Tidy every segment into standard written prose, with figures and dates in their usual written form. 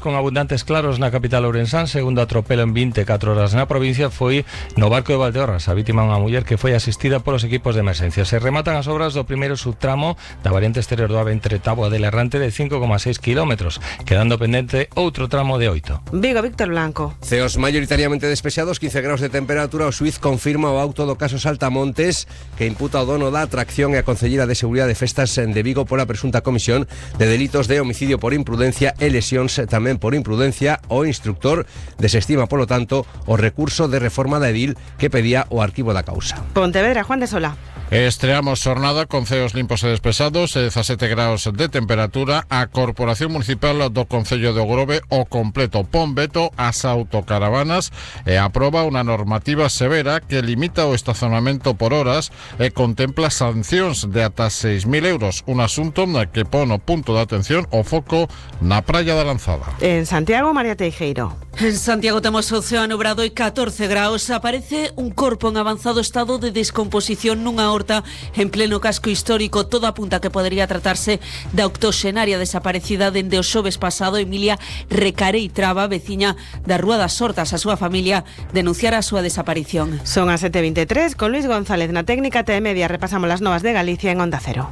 con abundantes claros na capital ourensán. Segundo atropelo en 24 horas na provincia foi no barco de Valdeorras. A vítima é unha muller que foi asistida polos equipos de emerxencia. Se rematan as obras do primeiro subtramo da variante exterior do AVE entre Táboa del Errante de 5,6 km, quedando pendente outro tramo de 8. Vigo, Víctor Blanco. Ceos maioritariamente despexados, 15 graus de temperatura. O xuiz confirma o auto do caso Saltamontes, que imputa o dono da atracción e a concelleira de Seguridade de Festas de Vigo pola presunta comisión de delitos de homicidio por imprudencia e lesións tamén por imprudencia. O instructor desestima, polo tanto, o recurso de reforma da edil que pedía o arquivo da causa. Pontevedra, Juan de Sola. Estreamos jornada con ceos limpos e despesados, 17 graus de temperatura. A Corporación Municipal do Concello de Ogrove o completo pon veto ás autocaravanas e aproba unha normativa severa que limita o estacionamento por horas e contempla sancións de ata 6.000 euros, un asunto que pon o punto de atención o foco na Praia da Lanzada. En Santiago, María Teijeiro. En Santiago temos o ceo nubrado e 14 graus. Aparece un corpo en avanzado estado de descomposición nunha horta en pleno casco histórico. Todo apunta que podería tratarse da octoxenaria desaparecida dende o xoves pasado. Emilia Recarei Traba, veciña da Rúa das Hortas. A súa familia denunciara a súa desaparición. Son as 7:23, con Luis González na técnica T-Media. Repasamos las novas de Galicia en Onda Cero.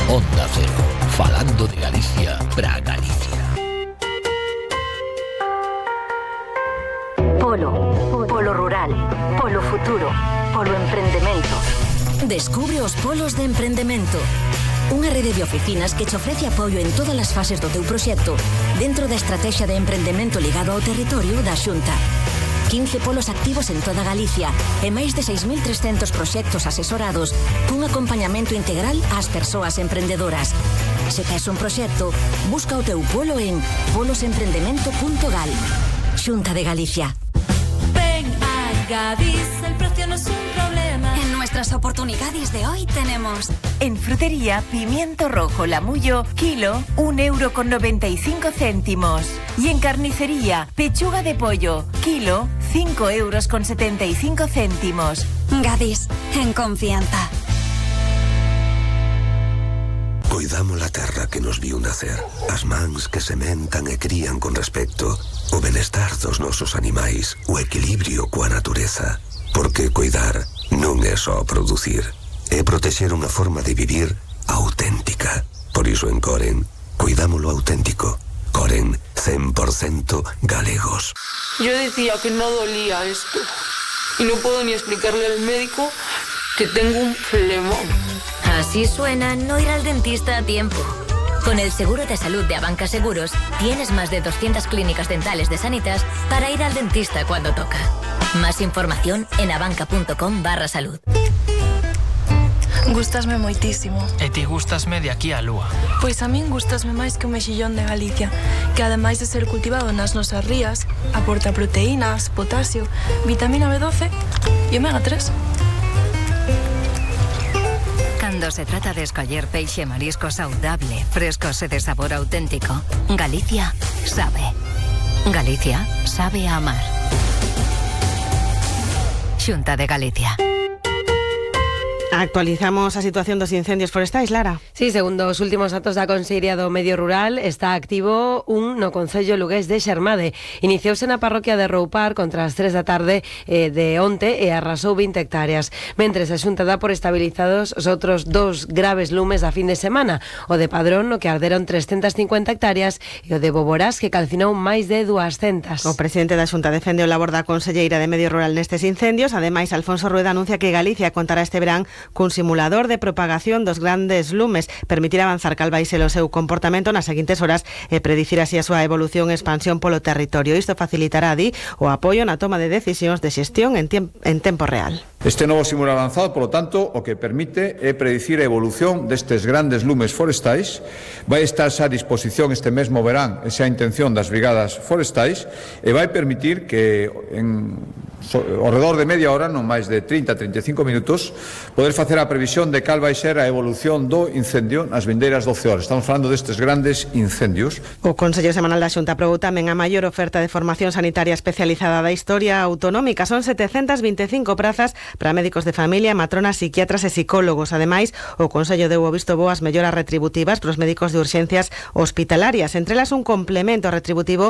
Onda Cero, falando de Galicia para Galicia. Polo rural, polo futuro, polo emprendemento. Descubre os polos de emprendemento. Unha rede de oficinas que te ofrece apoio en todas as fases do teu proxecto dentro da estrategia de emprendemento ligado ao territorio da Xunta. 15 polos activos en toda Galicia e máis de 6.300 proxectos asesorados cun acompañamento integral ás persoas emprendedoras. Se tes un proxecto, busca o teu polo en polosemprendemento.gal. Xunta de Galicia. Ven a Gadis, el precio no es un problema. En nuestras oportunidades de hoy tenemos: en frutería, pimiento rojo Lamullo, kilo, 1,95 €. Y en carnicería, pechuga de pollo, kilo, 5,75 €. Gadis, en confianza. Coidamos la terra que nos viu nacer, as mans que sementan e crían con respecto, o benestar dos nosos animais, o equilibrio coa natureza. Porque coidar non é só producir, é protexer unha forma de vivir auténtica. Por iso en Coren, cuidámoslo auténtico. Coren, 100% galegos. Yo decía que no dolía esto y no puedo ni explicarle al médico que tengo un flemón. Así suena no ir al dentista a tiempo. Con el seguro de salud de Abanca Seguros, tienes más de 200 clínicas dentales de Sanitas para ir al dentista cuando toca. Más información en abanca.com/salud. Gústasme moitísimo. E ti gústasme de aquí á lúa. Pois a min gústasme máis que o mexillón de Galicia, que ademais de ser cultivado nas nosas rías, aporta proteínas, potasio, vitamina B12 e omega 3. Cando se trata de escoller peixe e marisco saudable, frescos e de sabor auténtico, Galicia sabe. Galicia sabe a amar. Xunta de Galicia. Actualizamos a situación dos incendios forestais, Lara. Sí, segundo os últimos datos da Consellería do Medio Rural, está activo un no concello lugués de Xermade. Iniciouse na parroquia de Roupar contra as 3 da tarde de onte e arrasou 20 hectáreas. Mentres a Xunta dá por estabilizados os outros dos graves lumes da fin de semana, o de Padrón, no que arderon 350 hectáreas, e o de Boborás, que calcinou máis de 200. O presidente da Xunta defende o labor da Conselleira de Medio Rural nestes incendios. Ademais, Alfonso Rueda anuncia que Galicia contará este verán cun simulador de propagación dos grandes lumes, permitir avanzar cal vai ser o seu comportamento nas seguintes horas e predicir así a súa evolución e expansión polo territorio. Isto facilitará, di, o apoio na toma de decisións de xestión en tempo real. Este novo simulador avanzado, polo tanto, o que permite é predicir a evolución destes grandes lumes forestais. Vai estar xa a disposición este mesmo verán, esa intención das brigadas forestais, e vai permitir que ao redor de media hora, non máis de 30-35 minutos, poder facer a previsión de cal vai ser a evolución do incendio nas vindeiras 12 horas. Estamos falando destes grandes incendios. O Consello Semanal da Xunta aprobou tamén a maior oferta de formación sanitaria especializada da historia autonómica. Son 725 prazas para médicos de familia, matronas, psiquiatras e psicólogos. Ademais, o Consello deu o visto bo ás melloras retributivas para os médicos de urxencias hospitalarias. Entre elas, un complemento retributivo